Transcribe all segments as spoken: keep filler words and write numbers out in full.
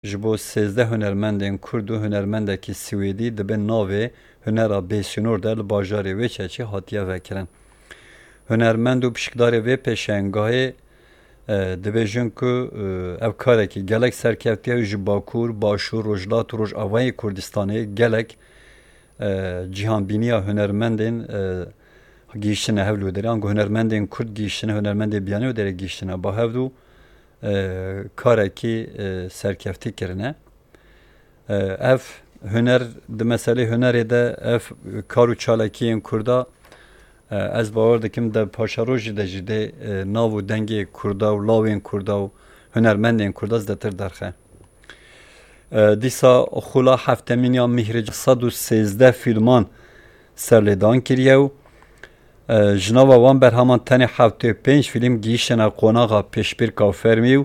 Ji bo sêzdeh hunermendên Kurd û hunermendekî Swêdî di bin navê Hunera Bêsînor de li bajarê Wêçeçî hatiye vekirin. Hunermend û pişikdarê vê pêşengahê, e, dibêjin ku, e, ev karekî gelek serkeftiye û ji Bakur, Başûr, Rojhilat û Rojavayê Kurdistanê gelek, e, cîhanbîniya hunermendên, e, gihîştine hevlûderê. Ango hunermendên Kurd gihîştine, hunermendê biyanî û derê gihîştine ba hevdû, e, karekî, e, serkeftî kirine. E, ev huner, di meselê hunerê de ev kar û çalakiyên Kurda, e, ez bawer dikim de paşerojî de jî dê, e, nav û dengê Kurda û lawên Kurda û hunermendên Kurda zêdetir derxe. E, dîsa xula heftemîn ya Mîhrican sed û sêzdeh fîlman serlêdan kiriye û, e, ji nava wan berheman tenê heftê û pênc fîlm gihîştine qonaxa pêşbîrka fermî û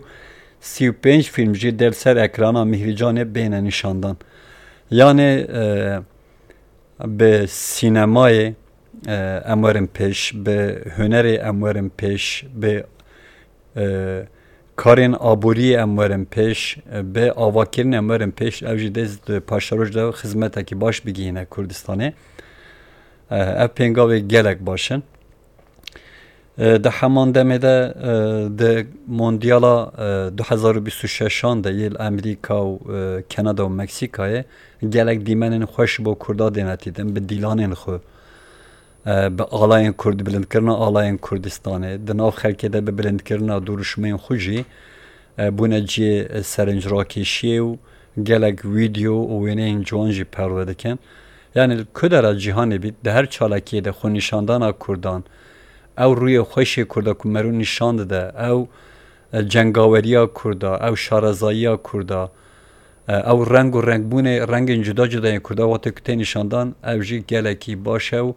sî û pênc fîlm jî dê li ser ekrana Mîhricanê bêne nîşandan. Yanê, e, bi sînemayê, e, em werin pêş, bi hunerê em werin pêş, bi, e, karên aboriyê em werin pêş, e, bi avakirin em werin pêş, ev jî dê di paşeroj de xizmetekî baş bigihîne Kurdistanê. E, ev pêngavê gelek baş in. E, di heman demê de, e, di Mondyala, e, du hezar û bîst û şeşan de yê li Amerîka û, e, Kanada û Meksîkayê gelek dîmenên xweş bo Kurda dêne tîdin, bi dîlanên xwe, e, bi alayên Kurd, bilindkirina alayên Kurdistanê, di nav xelkê de bi bilindkirina duruşmeyên xwe jî, e, bûne cihê, e, serinc rakêşiyê û gelek vîdeo û wêneyên ciwan jî perwe dikin. Yanî li ku dera cîhanê bît, di her çalakiyê de xwe nîşandana Kurdan, ew rûyê xweşê Kurda ku merû nîşan dide, ew, e, cengaweriya Kurda, ew şarezayiya Kurda, e, ew reng û rengbûnê rengên cuda cuda yên Kurda wextê ku tê nîşandan, ew jî gelekî baş e û,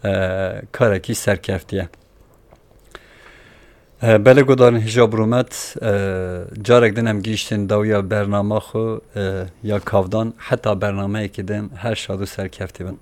e, karekî serkeftî ye. E, belê guhdarên hêja bi rûmet, e, carek din em gihîştin dawiya bernama xwe, e, ya kavdan, heta bernameyekî din her şad û serkeftî bin.